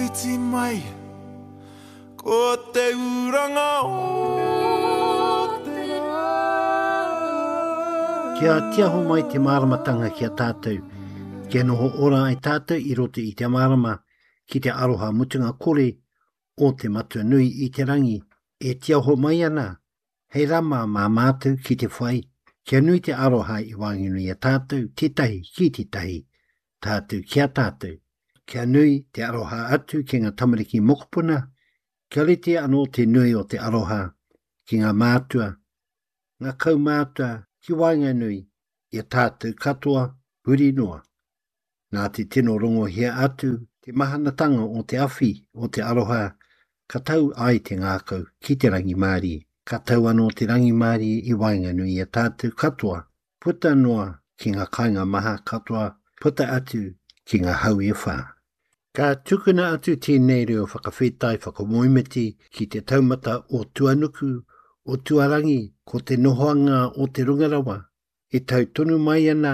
Whiti mai ko te uranga o te rā. Kia tiaho mai te māramatanga ki a tātou, kia noho ora ai tātou i roto i te mārama ki te aroha mutunga kore o te Matua nui i te rangi e tiaho mai ana hei rama mā mātou ki te whai, kia nui te aroha i waenganui i a tātou tētahi ki tētahi, tātou ki a tātou, kia nui te aroha atu ki ngā tamariki mokopuna, kia rite anō te nui o te aroha ki ngā mātua, ngā kaumātua ki waenganui i a tātou katoa huri noa. Nā te tino rongohia atu te mahanatanga o te awhi o te aroha ka tau ai te ngākau ki te rangimārie. Ka tau anō te rangimārie i waenganui i a tātou katoa, puta noa ki ngā kāinga maha katoa, puta atu ki ngā hau e whā. Ka tukuna atu tēnei reo whakawhetai whakamoemiti ki te taumata o tuanuku, o tuarangi, ko te nohoanga o te runga rawa, e tau tonu mai ana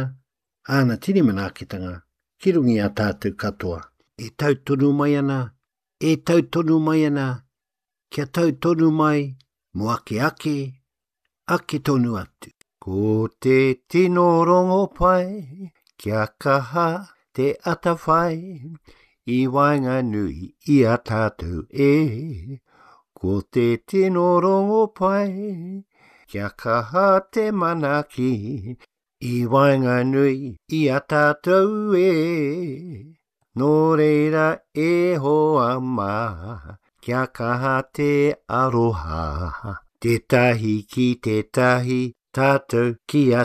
āna tini manaakitanga ki runga i a tātou katoa. E tau tonu mai ana, e tau tonu mai ana, kia tau tonu mai mō ake ake, ake tonu atu. Ko te tino rongopai, kia kaha te atawhai i waenganui i a tātou e. Ko te tino rongopai, kia kaha te manaaki I waenganui i a tātou e. Nō reira e hoa mā, kia kaha te aroha. Tētahi ki tētahi, tātou ki a.